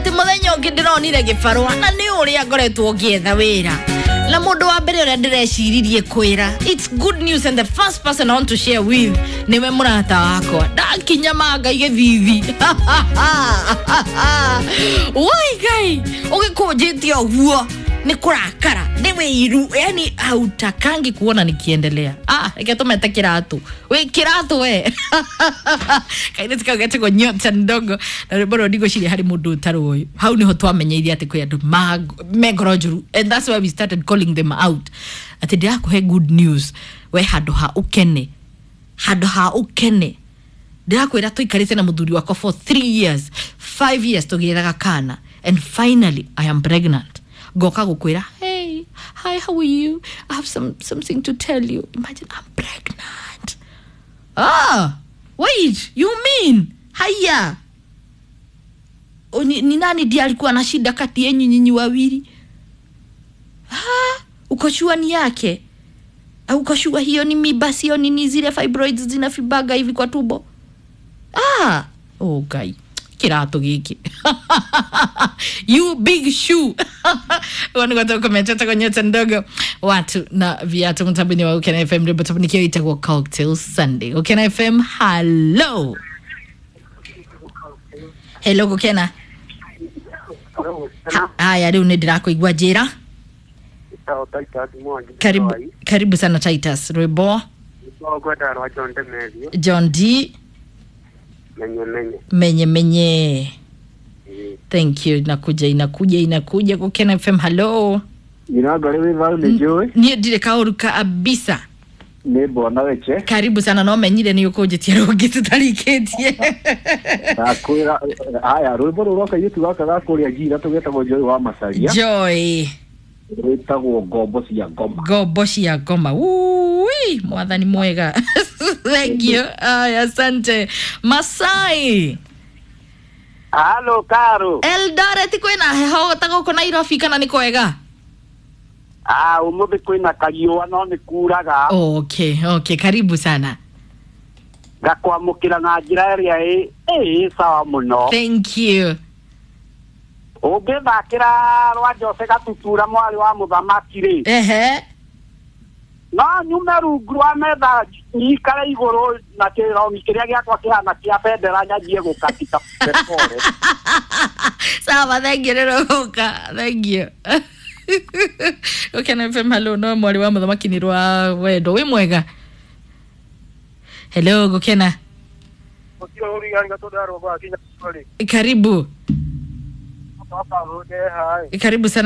Ati muthenya ungi ndironire gibarua na ni uria ngoretwo ngietha wira na mundu wa mbere uria ndireciririe kwira, it's good news, and the first person I want to share with niwe murata wakwa. Ndakinya manga igithithi wai ngai ugikunjitie uguo ni kurakara ni wiru, yani hautakangi kuona nikiendelea. Ah, reke tumete kiratu wi kiratu we kairĩtu kau getagwo Nyota Ndogo na rwĩmbo rũrũ ndigwĩciria harĩ mũndũ ũtarĩ ũyũ. Hau nĩho twamenyeire atĩ kwĩ andũ me ngoro njũru, and that's why we started calling them out atĩ ndĩrakũhe good news we, handũ ha ũkene, handũ ha ũkene. Ndĩrakwĩra tũikarĩte na mũthuri wakwa for 3 years, 5 years tũgĩethaga kana, and finally I am pregnant. Ngoka gũkwĩra, "Hey, hi, how are you? I have something to tell you. Imagine, I'm pregnant." Ah, wait, you mean haya? O, ni nani ndiye alikuwa na shida kati yenyu nyinyi wawili? Ah, uko sure ni yake? Au uko sure hiyo ni miba, sio nini, zile fibroids zinafibaga hivi kwa tumbo? Ah, oh ngai, kiratu giki, you big shoe. Wanigwatakometa Nyota Ndogo, watu na viatu, mtabini wa Ukena FM, rwimbo tabuni itagwo Cocktail Sunday. Ukena FM, hello, hello, Gukena. Haya, riu nĩ ndĩrakũigua, njĩra. Karibu, karibu sana Titus. Rwimbo? Ngwenda rwa John Demerio. John D. Menye menye. Menye menye. Thank you. Inakuja, inakuja, inakuja. Gukena FM, hello. Nyina ngorĩ wĩ thayũ nĩ njũĩ. Niĩ ndirĩ kaũru kabisa. Nĩ bwana weche. Karibu sana. No menyire nĩ ũkũnjĩtia rũngĩ tũtarikĩtie. Ndakwĩra haya rwĩmbo rũrũ rwa kairĩtu gaka ga kũrĩa njira tũgetagwo Joy wa Macaria. Joy. Rwĩtagwo Ngombo cia Ngoma. Ngombo cia Ngoma. Ui, mwathani mwega. Thank you. Aya, asante Masai. Halo, Karo. Eldoret kwĩna heho ta gũkũ Nairobi kana nĩ kwega? Ah, umuthi kwina kariũa no nĩ kuraga. Okay, karibu sana. Ngakwamũkĩra na njĩra ĩrĩa ĩ sawa mũno. Thank you. Ũngĩthakĩra rwa Jose Gatutura mwarĩ wa mũthamaki rĩ, ehe, no nyume rungu rwa metha nyikare igũrũ na kĩrongi kĩrĩa gĩakwa kĩhana kĩa bendera nyanjie gũkatika pole. Sawa, thank you. Rĩrũka, thank you. Gũkena FM, hello. No mwarĩ wa mũthamaki nĩ rwa wendo wĩ mwega. Hello, Gũkena. Karibu, karibu sana.